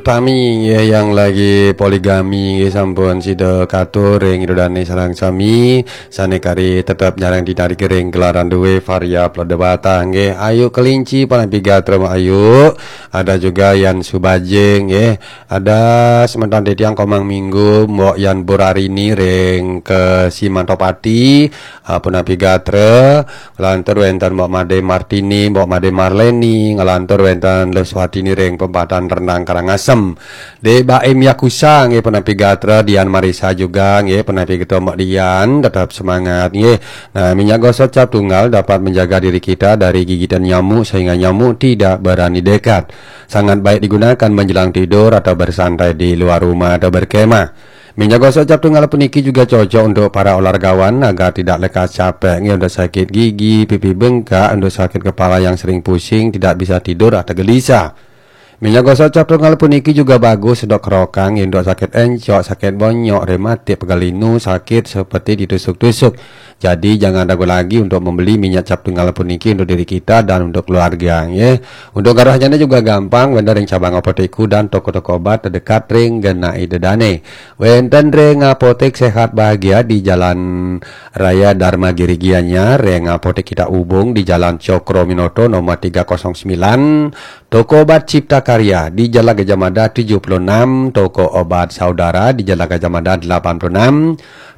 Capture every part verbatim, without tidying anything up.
Tami nggih yang lagi poligami nggih sampun sida katur ring ida dane sareng sami sane kari tetep nyareng ditarik ring gelaran duwe Varia Plodewata nggih. Ayu Kelinci, punapi gatra Mbok Ayu. Ada juga Yan Subajing nggih. Ada semeton titiang Komang Minggu, Mbok Yan Burarini ring Kesimantopati, ah, punapi gatra. Nglantur wenten Mbok Made Martini, Mbok Made Marleni, nglantur wenten Leswatini ring Pempatan Rendang Karangasem. Dek Baim Yakusa nggih, punapi gatra, Dian Marisa juga nggih, punapi gatra Mbok Dian, tetap semangat nggih. Nah, minyak gosok cap tunggal dapat menjaga diri kita dari gigitan nyamuk sehingga nyamuk tidak berani dekat. Sangat baik digunakan menjelang tidur atau bersantai di luar rumah atau berkemah. Minyak gosok cap tunggal puniki juga cocok untuk para olahragawan agar tidak lekas capek nggih, untuk sakit gigi, pipi bengkak, untuk sakit kepala yang sering pusing, tidak bisa tidur atau gelisah. Minyak gosok cap tunggal puniki juga bagus untuk kerokang nggih, untuk sakit encok, sakit bonyok, rematik, pegal linu, sakit seperti ditusuk-tusuk. Jadi jangan ragu lagi untuk membeli minyak cap tunggal puniki untuk diri kita dan untuk keluarga nggih. Untuk garuhnyane juga gampang, wenten ring cabang apotek dan toko-toko obat terdekat ring genah ida dane. Wenten ring Apotek Sehat Bahagia di Jalan Raya Dharma Giri Gianyar, ring Apotek Kita Ubung di Jalan Cokroaminoto nomor tiga kosong sembilan, Toko Obat Cipta Karya di Jalan Gajah Mada tujuh puluh enam, Toko Obat Saudara di Jalan Gajah Mada delapan puluh enam,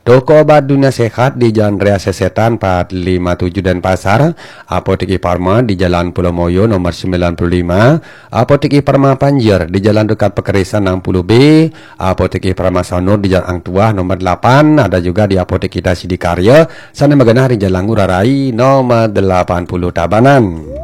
Toko Obat Dunia Sehat di Jalan Raya Sesetan empat lima tujuh Denpasar, Apotek Farma di Jalan Pulau Moyo nomor sembilan puluh lima, Apotek Farma Panjer di Jalan Dekat Pekerisan enam puluh B, Apotek Farma Sanur di Jalan Ang Tuah nomor delapan, ada juga di Apotek Kita Sidikarya, sane magenah di Jalan Ngurah Rai nomor delapan puluh Tabanan.